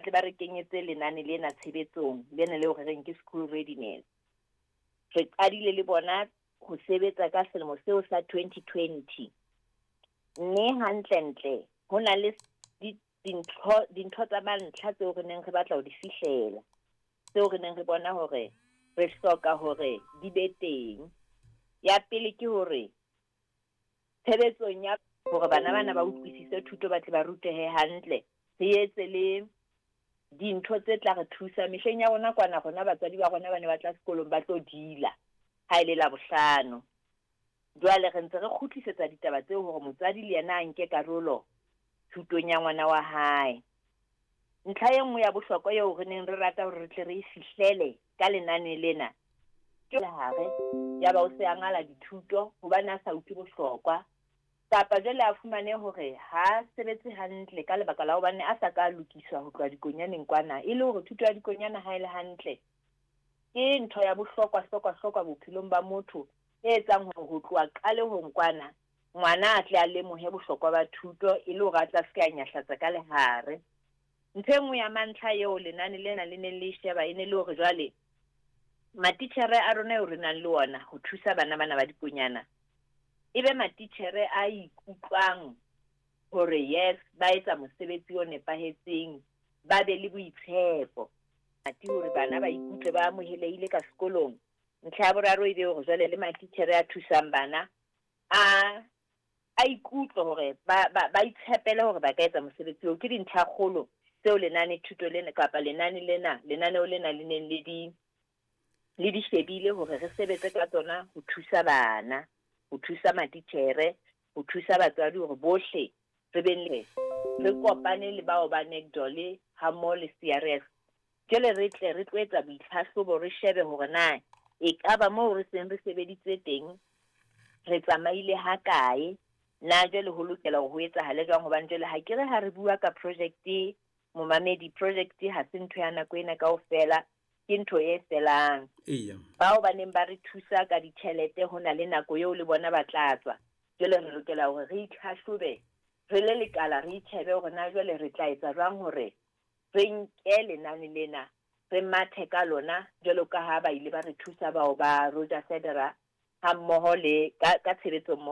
Tle ba re kenyetse lenane lena tshebetsong, lena leo re reng ke school readiness. Re qadile le bona ho sebetsa ka selemo seo sa 2020. Mme hantlentle ho na le dintho dintho tsa mantlha tseo re neng re batla ho di fihlela, tseo re neng re bona hore re hloka hore di be teng. Ya pele ke hore tshebetsong ya hore bana bana ba utlwisise thuto ba tle ba rutehe hantle, re etse le dintho tse tla re thusa. Mehleng ya rona kwana rona batswadi ba rona ba ne ba tla sekolong ba tlo dila ha e le Labohlano. Jwale re ntse re kgutlisetsa ditaba tseo hore motswadi le yena a nke karolo thutong ya ngwana wa hae. Ntlha e nngwe ya bohlokwa eo re neng re rata hore re tle re e fihlele ka lenane lena ke hare yaba o se a ngala dithuto hobane a sa utlwe bohlokwa, kapa jwale a fumane hore ha a sebetse hantle ka lebaka la hobane a sa ka a lokiswa ho tloha dikonyaneng kwana, e le hore thuto ya dikonyana ha e le hantle ke ntho ya bohlokwa hlokwa hlokwa bophelong ba motho e etsang hore ho tloha qalehong kwana ngwana a tle a lemohe bohlokwa ba thuto e le hore a tla se ke a nyahlatsa ka lehare. Ntho e nngwe ya mantlha eo lenane lena le neng le e sheba e ne le hore jwale matitjhere a rona eo re nang le ona ho thusa bana bana ba dikonyana e be matitjhere a ikutlwang hore yes, ba etsa mosebetsi o nepahetseng, ba be le boitshepo. Ati hore bana ba ikutlwe ba amohelehile ka sekolong. Ntlha ya boraro e be hore jwale le matitjhere a thusang bana a a ikutlwe hore ba ba ba itshepele hore ba ka etsa mosebetsi oo. Ke dintlha kgolo tseo lenane thuto lena kapa lenane lena lenaneo lena le neng le di le di shebile hore re sebetse ka tsona ho thusa bana, ho thusa matitjhere, ho thusa batswadi hore bohle re beng le re kopane le bao ba NACDOL hammoho le CRS. Jwale re tle re tlo etsa boitlhahlobo re shebe hore na ekaba moo re seng re sebeditse teng re tsamaile ha kae, na jwale ho lokela hore ho etsahale jwang, hobane jwale ha ke re ha re bua ka project, momamedi, project ha se ntho ya nako ena kaofela, ke ntho e felang. Bao ba neng ba re thusa ka ditjhelete ho na le nako eo le bona ba tla tswa. Jwale re lokela hore re itlhahlobe re le lekala, re itjhebe hore na jwale re tla etsa jwang hore re nke lenane lena re mathe ka lona jwalo ka ha ba ile ba re thusa bao ba Roger Federer hammoho le ka tshebetso mmoho.